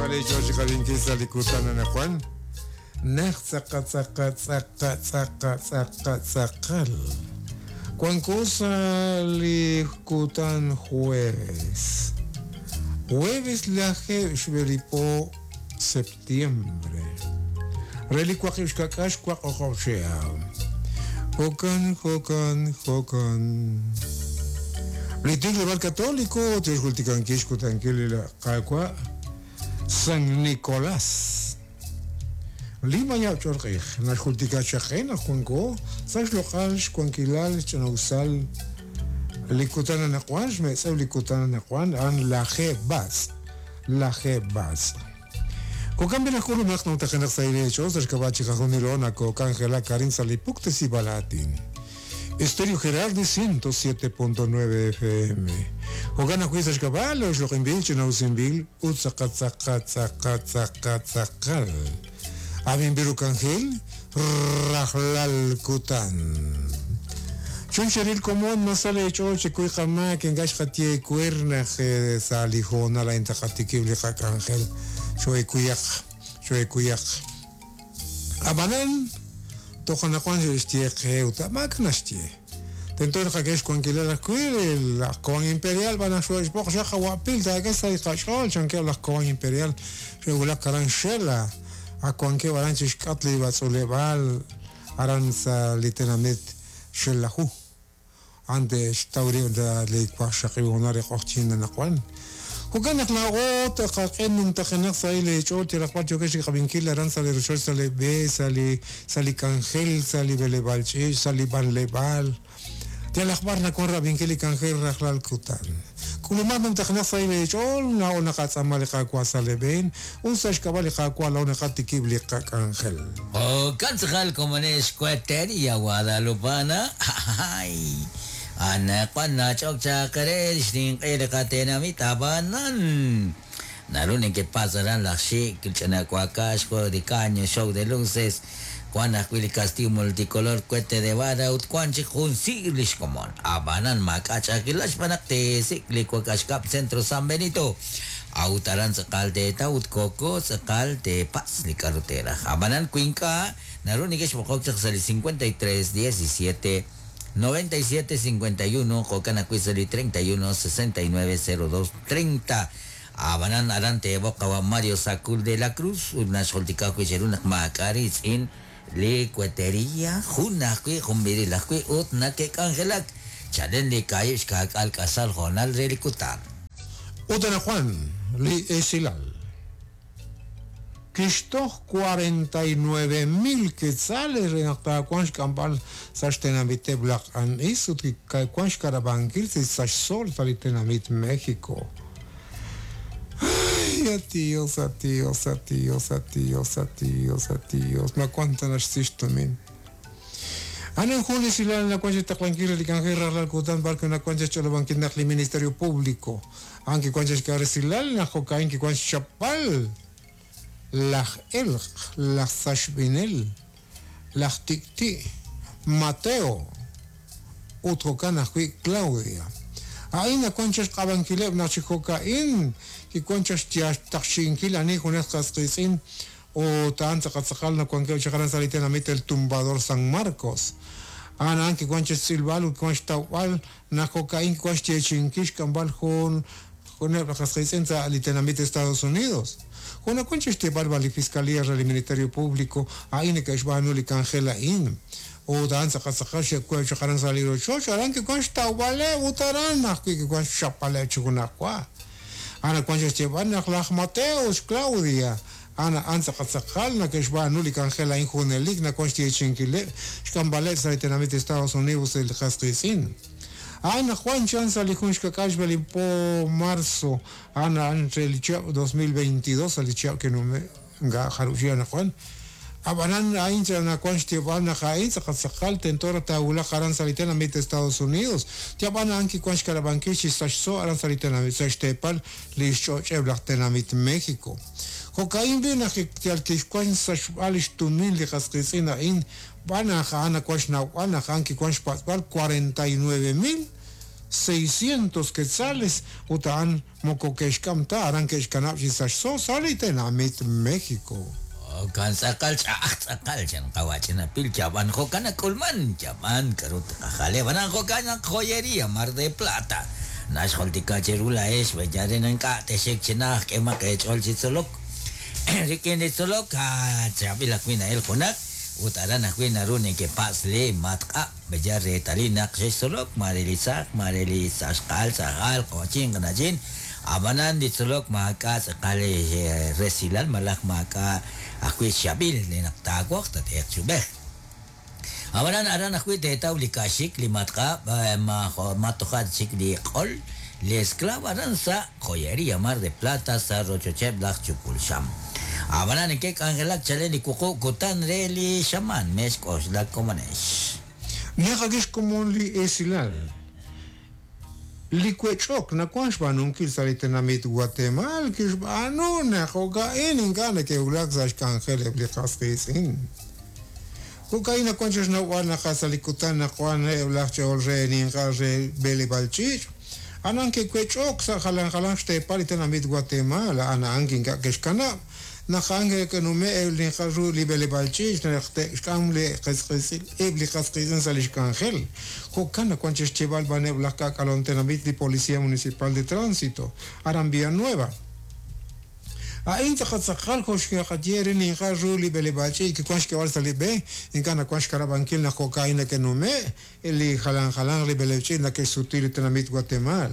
Sale George Qabinkil sa li kutan anaqwan naq tz'aqa tz'aqa tz'aqa tz'aqa tz'aqa tz'aqal wanko sa' li kutan jueves jueves lajeeb' xb'e li po septiembre re li waqib' xka'k'aal xwaq o'q'ob' chihab'. Jo'kan, jo'kan, jo'kan. Li Tikleb'aal Katoliko te'xjultikankil xkutankil li Qaawa' San Nicolás. Li mayab' ch'olq'ij naxjultika chaq qe naq wanko sa' xloq'al xwankilal xch'ina'usal li kutan anaqwan, xmetz'ew li kutan anaqwan a'an lajeeb' b'atz', lajeeb' b'atz'. Jo'kan b'i' naq k'ulumaq numtajenaq sa' eech'ool sa' xk'ab'a' chiqajunilo nakok'anjelak arin sa' li puktesib'al aatin. Estéreo Gerardi 107.9 FM. Jo'kan ajwi' sa' xk'ab'a' li oxloq'inb'il, ch'ina'usinb'il ut tz'aqal tz'aqal tz'aqal tz'aqal tz'aqal. Ab'inb'il ru k'anjel rajlal kutan. Chun xeril komon ma sa leech'ool chekuy qamaak ink'a' xqaye ewer naq sa' li hoonal a'in taqatikib' li qak'anjel. Xoo'ekuyaq, xoo'ekuyaq. Ab'anan, toj anaqwan xe'xye qe ut maak'a' naxye. Tento naqak'e xwankilal ajwi' laj Cobán Imperial b'an naq xo'e'xb'oq xaq qawa'pil taak'e sa' li qach'ool chankeb' laj Cobán Imperial xe'wulak aran Xela, ak wankeb' aran chi xk'atq li b'atz'uuleb'aal aran sa' li tenamit Xelaju. A'an te'xtaw rib' sa' li waqxaqib' hoonal re q'oqyink anaqwan. Jo'kan naq laa'o tqaq'e numtajenaq sahil eech'ool yalaq b'ar yookex chiqab'inkil aran sa' li rochoch, sa' li b'e, sa' li sa' li k'anjel, sa' li b'eleb'aal ch'iich', sa' li b'anleb'aal. Yalaq b'ar nawank rab'inkil li k'anjel rajlal kutan. K'ulumaq numtajenaq sahil eech'ool, laa'o naqatz'aama li Qaawa' sa' lee b'een, ut sa' xk'ab'a' li Qaawa' laa'o naqatikib' li qak'anjel. Jo'kan tz'aqal komonex Cueteria Guadalupana, ay! Anaqwan nach'ok chaq re xninq'e li qatenamit, ab'anan naru nekepatz' aran laj xik', ch'ina wakax, juego de caño, show de luces, wan ajwi' li castillo multicolor, cohete de vara ut wan chik jun siir li xkomon. Ab'anan maak'a' ch'a'ajkilal xb'aan naq teesik' li wakax kab' Centro San Benito. A'ut aran tz'aqal teetaw ut koko tz'aqal teepatz' li k'a'ru teeraj. Ab'anan wi ink'a', naru nekexb'oqok chaq sa' li 53 17 97 51 jo'kan ajwi' sa' li 31 69 02 30. Ab'anan aran teeb'oq qawa' Mario Sacul de la Cruz ut naxjultika ajwi' cheru naq maak'a' riitz'in li Cueteria, jun ajwi', jun b'iril ajwi' ut nake'k'anjelak chalen li kaahib' xkaak'al k'asal hoonal re li kutan. Ut anaqwan li esilal. Kixtoj 49 mil quetzales re naq taawanq xk'amb'al sa' xtenamiteb' laj q'an'is ut kiwank xkarabankil sa' xsool sa' li tenamit México. Ay, a Dios, a Dios, a Dios, a Dios, a Dios, a Dios. Ma wank ta naxsi xtumin. A'an jun li esilal nawank xtaqlankil re li k'anjel rajlal kutan b'ar wi' nawank xch'olob'ankil naq li Ministerio Público a'an kiwank xk'e resilal naq jo'ka'in kiwank xchapb'al laj elq', laj saxb'inel, laj tik'ti', Mateo ut jo'kan ajwi' Claudia. A'in nawank chaq xq'ab'ankileb' naq chi jo'ka'in kiwank chaq xtaqxi'inkil ani junaq qas qiitz'in ut a'an tz'aqal tz'aqal nawankeb' chaq aran sa' li tenamit El Tumbador San Marcos. A'an a'an kiwank chaq xtz'ilb'al ut kiwank xtawb'al naq jo'ka'in kiwank xyeechi'inkil xk'amb'al jun juneb' laj qas qiitz'in sa' li tenamit Estados Unidos. Jo' nawank chaq xyeeb'al b'an li Fiscalía re li Ministerio Público a'in neke'xb'aanu li k'anjel a'in. Ut a'an tz'aqal tz'aqal xe'web' chaq aran sa' li rochoch, aran kiwank xtawb'aleb' ut aran ajwi' kiwank xchapb'aleb' chi junajwa. A'an nawank chaq xyeeb'al naq laj Mateo ut xClaudia a'an a'an tz'aqal tz'aqal nake'xb'aanu li k'anjel a'in junelik nawank xyeechi'inkileb' xk'amb'aleb' sa' li tenamit Estados Unidos li qas qiitz'in. A'an naq wan chan sa' li jun xka'k'aal xb'e li po marzo a'an a'an re li chihab' 2022 sa' li chihab' kinume' ink'a' jarub' chihab' anaqwan. Ab'anan a'in nawank xyeeb'al naq a'in tz'aqal tz'aqal tento raj taawulaq aran sa' li tenamit Estados Unidos. Yab'an a'an kiwank xkanab'ankil chi sachso aran sa' li tenamit sa' xteepal li xch'och'eb' laj tenamit México. Jo'ka'in b'i' naq yal kixwank sachb'al li xtumin li qas qiitz'in a'in b'an naq a'an nawank xnawb'al naq a'an kiwank xpatz'b'al 49 mil 600 quetzales ut a'an moko ke'xk'am ta aran ke'xkanab' chi sachso sa' li tenamit México. Jo'kan tz'aqal ch'a'aj tz'aqal chan qawa' ch'inapil chab'an jo'kan nak'ulman chab'an k'aru tqajale b'anan jo'kan naq joyería Mar de Plata naxjultika cheru laa'ex b'eyal re ink'a' texik chi naj k'emaq eech'ool chi tzolok rik'in li tzolok chaab'il ajwi' na'el junaq ut aran ajwi' naru nekepatz' li matq'ab' b'eyal reetalil naq xextzolok mare li tzaq mare li saxqal tz'ajal q'och'in qana'chin ab'anan li tzolok maak'a' tz'aqal resilal malaj maak'a' ajwi' xchab'il li naq taawoq tateeq chub'ej. Ab'anan aran ajwi' teetaw li ka'xik li matq'ab' matoja' chik li q'ol li esclavo aran sa' joyería Mar de Plata sa' rochocheb' laj Chupulxam. Ab'anan neke'k'anjelak chalen li wuqub' kutan re li xamaan mex k'oxlak komonex. Naqak'e xkomon li esilal. Li wech'ok nawank xb'aanunkil sa' li tenamit Guatemala kixb'aanu naq jo'ka'in ink'a' neke'wulak sa' xk'anjel eb' li qas qiitz'in. Jo'ka'in nawank chi xnawb'al naq sa' li kutan naq wan eb' laj ch'ool re ninqal re b'eleb'aal ch'iich', anan ke'wech'ok sa' jalan jalan xteepal li tenamit Guatemala a'an a'an ink'a' ke'xkanab' naq a'an ke'nume' eb' li ninqal ru li b'eleb'aal ch'iich' naq te'xk'am li qas eb' li qas qiitz'in sa' li xk'anjel. Jo'kan nawank chi xyeeb'al b'an eb' laj k'aak'alom tenamit li Policía Municipal de Tránsito aran Villanueva. A'in tz'aqal tz'aqal jo' xqaye re ninqal ru li b'eleb'aal ch'iich' kiwank xk'eeb'al sa' li b'e ink'a' nawank xkanab'ankil naq jo'ka'in neke'nume' li jalan jalan li b'eleb' ch'iich' neke'xsuti li tenamit Guatemala.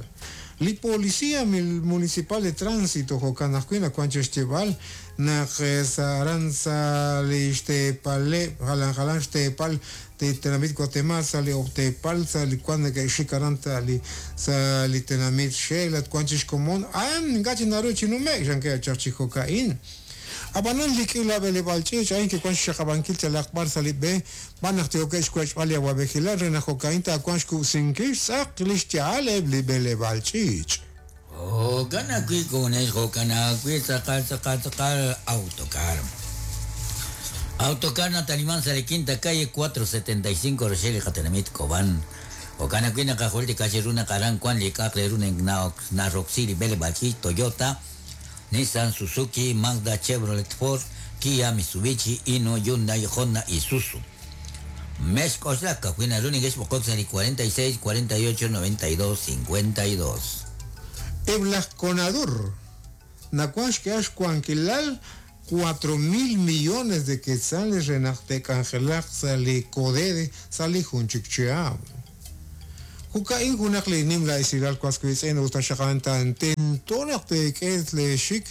Li Policía Municipal de Tránsito jo'kan ajwi' nawank chi xyeeb'al naq sa' aran sa' li xteepaleb' jalan jalan xteepal tenamit Guatemala sa' li ob'teepal sa' li wan neke'xik aran sa' li sa' li tenamit Xela wank chi xkomon a'an ink'a' chi naru chi nume'k xankee chaq chi jo'ka'in. Ab'anan li k'iila b'eleb'aal ch'iich' a'in kiwank xxaqab'ankil yalaq b'ar sa' li b'e b'an naq yookeb' xwech'b'al li awab'ejilal re naq jo'ka'in taawanq xkub'sinkil xtz'aq li xya'al eb' li b'eleb'aal ch'iich'. Jo'kan ajwi' komonex jo'kan ajwi' tz'aqal tz'aqal tz'aqal autocar. Autocar nataniman sa' li quinta calle 475 Rochelle li qatenamit Cobán. Jo'kan ajwi' naqajultika chiru naq aran wan li k'a'aq re ru naroksi li b'eleb'aal ch'iich' Toyota, Nissan, Suzuki, Mazda, Chevrolet, Ford, Kia, Mitsubishi, Hino, Hyundai, Honda, Isuzu. Mex k'oxlak ajwi' naru neke'xb'oqok sa' li 46 48 92 52. Eb' laj Conadur nawank xk'eeb'al xwankilal 4,000 millones de quetzales re naq te'k'anjelaq sa' li Codede sa' li jun chik chihab'. Jo'ka'in junaq li nimla esilal was wiitz'in ut taxaqan tento naq teek'e leexik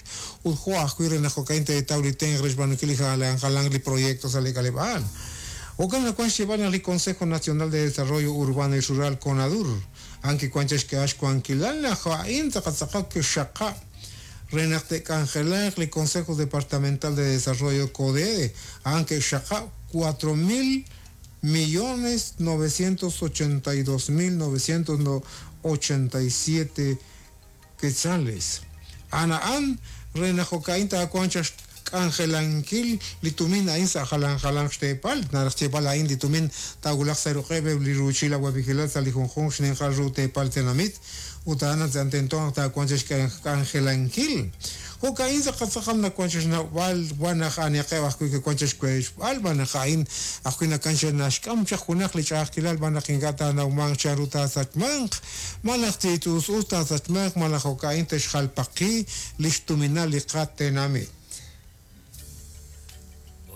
ut jo' ajwi' re naq jo'ka'in teetaw li tenq re xb'aanunkil li jalan jalan li proyecto sa' li k'aleb'aal. Jo'kan nawank xyeeb'al naq li Consejo Nacional de Desarrollo Urbano y Rural CONADUR a'an kiwank chi xk'eeb'al xwankilal naq a'in tz'aqal tz'aqal kixxaqab' re naq te'k'anjelaq li Consejo Departamental de Desarrollo CODEDE a'an ke'xxaqab' 4,982,987 quetzales. A'an a'an re naq jo'ka'in taawanq chaq xk'anjelankil li tumin a'in sa' jalan jalan xteepal naraj xyeeb'al a'in li tumin taawulaq sa' ruq'eb' eb' li ruuchil awab'ejilal sa' li junjunq xninqal ru teepal tenamit ut a'an tento naq taawanq chaq xk'anjelankil. Jo'ka'in tz'aqal tz'aqal nawank chi xnawb'al wan naq aniqeb' ajwi' kiwank chi xwech'b'al b'an naq a'in ajwi' nakan naxk'am chaq junaq li ch'a'ajkilal b'an naq ink'a' taanawmanq chanru taasachmanq malaj tiit'us taasachmanq malaj jo'ka'in te'xjalpaqi li xtuminal li qatenamit.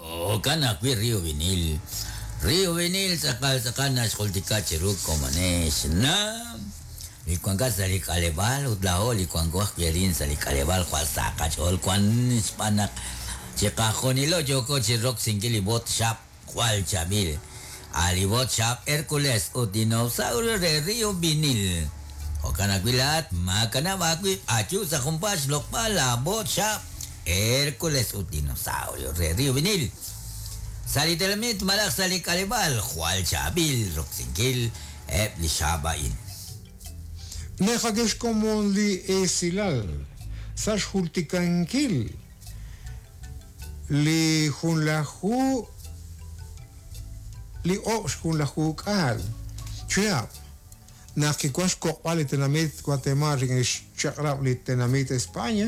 Jo'kan ajwi' Río Vinil. Río Vinil tz'aqal tz'aqal naxjultika chiru komonex na li wankat sa' li k'aleb'aal ut laa'o li wanko ajwi' arin sa' li k'aleb'aal jwal sa' qach'ool wan xb'aan naq chiqajunilo yooko chi roksinkil li bot xab' jwal chaab'il. A li bot xab' Hércules ut dinosaurio re Río Vinil. Jo'kan ajwi' laa'at maakanab' aawib' ayu sa' junpaat xloq'b'al la bot xab' Hércules ut dinosaurio re Río Vinil. Sa' li tenamit malaj sa' li k'aleb'aal jwal chaab'il roksinkil eb' li xab' a'in. Naqak'e xkomon li esilal sa' xjultikankil li junlaju li ob' xjunlaju k'aal chihab' Naq kiwan xkoq'b'al li tenamit Guatemala rik'in xchaq'rab' li tenamit España,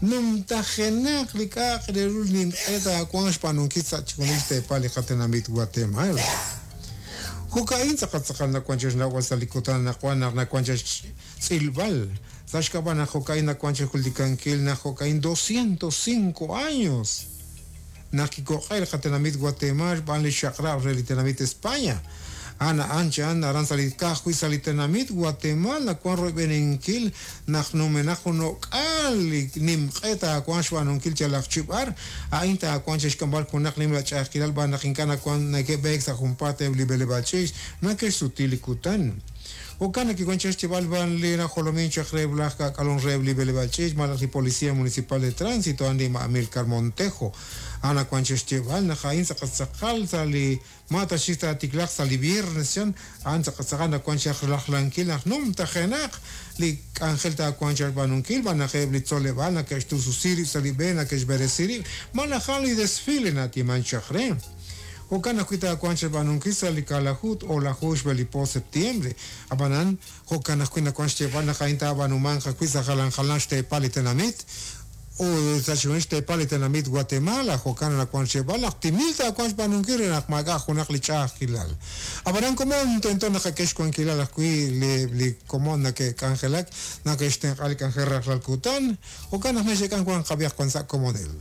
numtajenaq li k'a'aq re ru li nimq'e taawanq xb'aanunkil sa' chixjunil xteepal li qatenamit Guatemala. Jo'ka'in tz'aqal tz'aqal nawan chi xnawb'al sa' li kutan anaqwan naq nawan chi xtz'ilb'al sa' xk'ab'a' naq jo'ka'in nawan chi xjultikankil naq jo'ka'in 205 años naq kikoq'e li qatenamit Guatemala xb'aan li xchaq'rab' re li tenamit España. A'an a'an chan aran sa' li ka'ajwi' sa' li tenamit Guatemala nawan royb'eninkil naq numenaq jun o'k'aal li nimq'e taawanq xb'aanunkil yalaq chi b'ar, a'in taawanq chi xk'amb'al junaq nimla ch'a'ajkilal b'aan naq ink'a' nawan neke'b'eek sa' junpaat eb' li b'eleb'aal ch'iich' nake'xsuti li kutan. Jo'kan naq kiwan chaq xyeeb'al b'an li najolomin chaq reheb' laj k'aak'alom reheb' li b'eleb'aal ch'iich' malaj li Policía Municipal de Tránsito a'an li ma' Amilcar Montejo. A'an nawan chaq xyeeb'al naq a'in tz'aqal tz'aqal sa' li ma ta xik taatiklaaq sa' li viernes chan, a'an tz'aqal tz'aqal nawan chaq rajlankil naq numtajenaq li k'anjel taawanq chaq xb'aanunkil b'an naq eb' li tzoleb'aal nake'xtususi rib' sa' li b'e nake'xb'eresi rib' malaj a'an li desfile na'atiman chaq re. Jo'kan ajwi' taawanq xb'aanunkil sa' li kaalaju ut o'laju xb'e li po septiembre. Ab'anan, jo'kan ajwi' nawank xyeeb'al naq a'in taab'aanumanq ajwi' sa' jalan jalanq xteepal li tenamit ut sa' chixjunil xteepal li tenamit Guatemala. Jo'kan nawank xyeeb'al naq timil taawanq xb'aanunkil re naq maak'a' junaq li ch'a'ajkilal. Ab'anan komon tento naqak'e xwankilal ajwi' li li komon nake'k'anjelak, nake'xtenq'a li k'anjel rajlal kutan. Jo'kan naq mexeek'an wanq qab'ihaq wan sa' komonil.